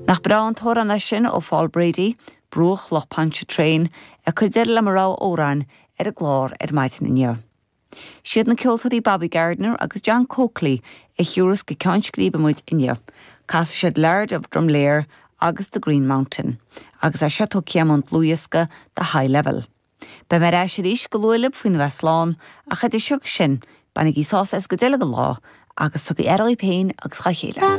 Nach breá an t-amhrán é sin ó Phaul Brady, Bruach Loch Pontchartrain, ag cur deireadh le mo rogha amhráin ar an gclár ar maidin inniu. Siad na ceoltóirí Bobby Gardiner agus John Coakley a thiúrfas go ceann scríbe muid inniu. Casfaidh siad Laird of Drumlear agus The Green Mountain, agus é seo tógtha ón dlúthdhiosca The High Level. Beidh mé ar ais arís go luath libh faoina bheith slán, ach idir seo agus sin, bainigí sásamh as an gcuid eile den lá agus tugaigí aire dhaoibh féin agus dhá chéile.